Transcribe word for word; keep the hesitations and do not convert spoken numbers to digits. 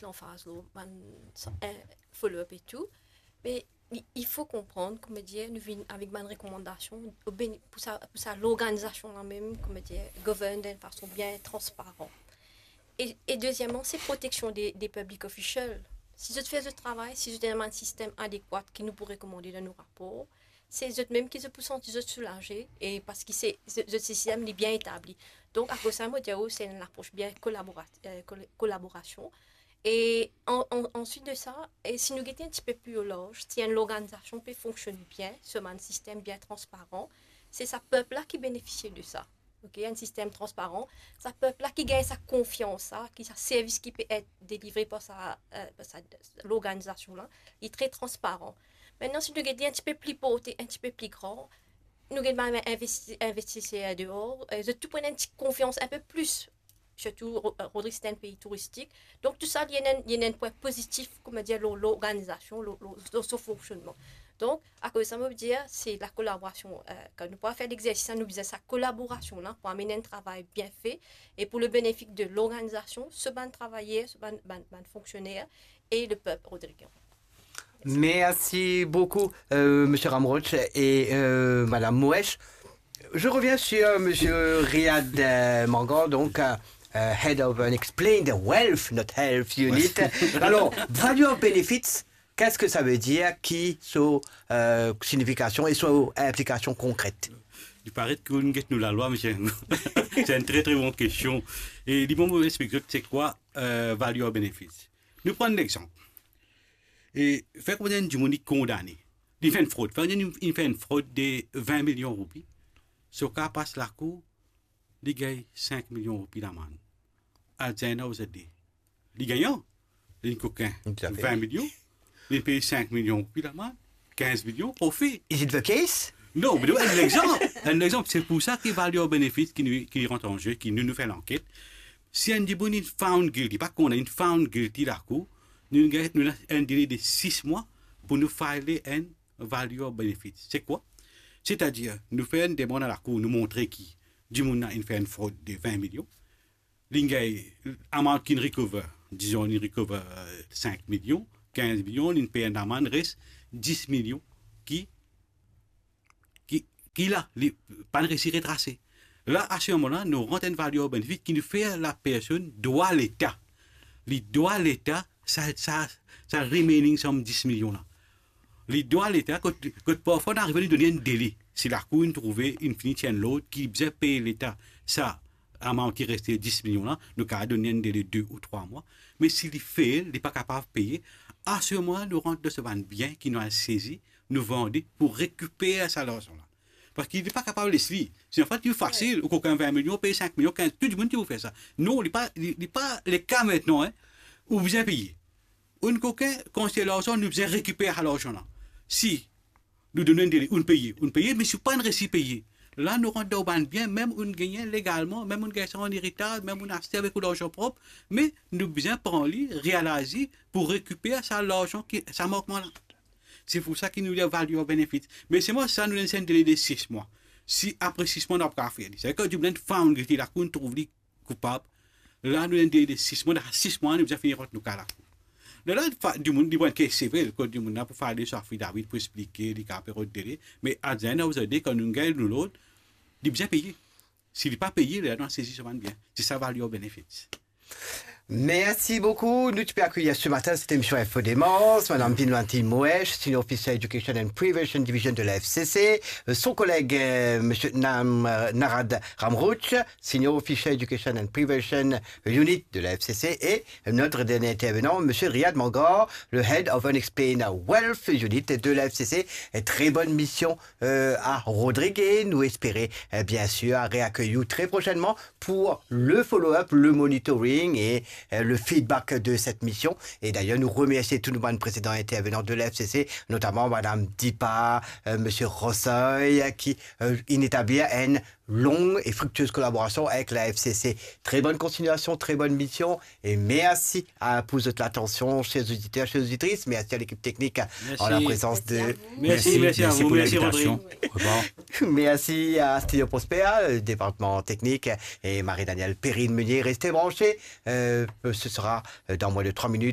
lanfaz lor bann sa-, eh, follow-up e tou. Me i, i fo konprann, kouma dir, nou vinn avek bann rekomandasion o bene-, pou sa, pou sa lorganizasion la mem, kouma dir, govern dan enn fason bien transparan. E, e dezieman, se proteksion de, de public official. Si zot fer zot travay, si zot ena bann sistem adekwat ki nou pou rekomande dan nou rapor, se zot mem ki zot pou santi zot soulaze, e parski se, zot, zot sistem li bien etabli. Donk, akoz sa, mo dir ou, se enn lapros bien kolabora-, eh, kol-, kolaborasion. E an, an, answit de sa, e si nou gete enn tipe pli larz, si enn lorganizasion pe fonksionn bien, so bann sistem bien transparan, se sa pep la ki benefisie de sa. Ok, enn sistem transparan, sa pep la ki gagn sa konfians la, ki sa servis ki pe et delivre par sa, eh, par sa, lorganizasion la, li tre transparan. Mintnan, si nou gete enn tipe pli porte, enn tipe pli gran, nou gagn bann investi-, investiser deor, eh, zot tou pran enn ti konfians inpe plis, sirtou Ro-, eh, Rodrig se enn pei touristik. Donk, tou sa, li ena enn, li ena enn pwin pozitif, kouma dir, lor lorganizasion, lor, lor, lor so fonksionnman. Donk, akoz sa, mo dir, se lakolaborasion, eh, kan nou pou fer legzersis la, nou bizin sa kolaborasion la pou amenn enn travay bien fe e pou le benefis de lorganizasion, so bann travayer, so bann, bann, bann fonksioner e lepep rodrigen. Merci beaucoup, euh, Monsieur Ramroche et, euh, Madame Moesch. Je reviens sur Monsieur Riyad, euh, Mangar, donc, euh, euh, Head of Unexplained Wealth, not Health Unit. Alors, value of benefits, qu'est-ce que ça veut dire, ki so, euh, signifikasion e so inplikasion konkret? Li paret ki ou get nou lalwa, misie. Se enn tre, tre bon kestion. E li bon, mo explik zot se kwa, euh, value of benefits. Nou pran enn lexanp. E fer konpran enn dimoun li kondane. Li fer enn frod. Fer konpran li fer enn frod de vin milion roupi. So ka pas lakour, li gagn sink milion roupi lamann. At the end of the day, li gagnan, li kokin. Toutafe. Vin milion, li pey sink milion roupi lamann, kinz milion profi. Is it the case? Non, me enn lexanp, enn lexanp, se pou sa ki value of benefits ki nou, ki rant an ze, ki nou, nou fer lanket. Si enn dimoun inn found guilty, pa konn, inn found guilty lakour, nou gagn, nou ena enn dele de sis mwa pou nou file enn value of benefits. Se kwa? Setadir, nou fer enn demann a lakour, nou montre ki dimoun la inn fer enn frod de vin milion. Li gagn amount ki inn recover, dizon, li recover, euh, sink milion, kinz milion, li pey enn lamann, res dis milion ki, ki, ki la, li pa'nn resi retrase. La, a se moman la, nou rant enn value of benefits ki nou fer lapersonn dwa Leta. Li dwa Leta sa, sa, sa remaining somme dis milion la. Li dwa Leta, kot, kot parfwa nou arive nou donn enn dele. Si lakour inn trouve, inn fini tir enn lord ki bizin pey Leta sa amount ki reste dis milion la, nou kapav donn enn dele de ou trwa mwa. Me si li fail, li pa kapav peye, a se moman la, nou rant dan so bann bien ki nou al sezi, nou vande pou rekiper sa larzan la. Parski li pa kapav les li. Si an fet, li fasil, ou kokin vin milion, pey sink milion, kinz, tou dimoun ki pou fer sa. Non, li pa, li, li pa le ka mintnan, hein. Ou bizin peye. Ou kokin, kan se larzan, nou bizin rekiper sa larzan la. Si nou donn enn dele, ou peye, ou peye, me si ou pa'nn resi peye, la nou rant dan bann bien, mem ou gagn legalman, mem ou gagn sa an eritaz, mem ou aste avek ou larzan prop, me nou bizin pran li, realize pou rekiper sa larzan ki, sa mankman la. Se pou sa ki nou dir value of benefits. Me selman sa, nou donn enn dele de sis mwa. Si apre sis mwa, nou pa kapav fer li, sa vedir ki dimoun found guilty, lakour trouv li koupab. La, nou donn enn dele de sis mwa, dan sis mwa, nou bizin fini rant nou ka lakour. Lerla, fa-, dimoun, li pran kes sevel, kot dimoun la pou file so affidavit pou explike, li kapav pe rod dele. Me at the end of the day, kan nou gagn nou lord, li bizin peye. Si li pa peye, lerla nou al sezi so bann bien. Se sa value of benefits. Merci beaucoup. Nou ti pe akeir ce matin cette émission Info Démence, Madame Vinwanti Moesch, Senior Officer Education and Prevention Division de la F C C, euh, son collègue, euh, Monsieur Nam-, euh, Narad Ramrouche, Senior Officer Education and Prevention Unit de la F C C, et notre dernier intervenant, Monsieur Riyad Mangar, le Head of Unexplained Wealth Unit de la F C C. Et très bonne mission, euh, à Rodrigue. Nous espérons, euh, bien sûr, à réaccueillir très prochainement pour le follow-up, le monitoring et, euh, le feedback de cette mission. Et d'ailleurs, nous remercions tous nos précédents intervenants de la F C C, notamment Madame Dipa, euh, Monsieur Rossoy, qui, euh, inn établi une longue et fructueuse collaboration avec la F C C. Très bonne continuation, très bonne mission et merci à, pour votre attention, chers auditeurs, chères auditrices. Merci à l'équipe technique, merci, en la présence de, merci, merci, merci à vous, merci Rodrigue. Au revoir. Merci à Studio Prosper, le département technique, et Marie-Danielle Perrine-Meunier. Restez branchés. Euh, ce sera, euh, dans moins de trois minutes.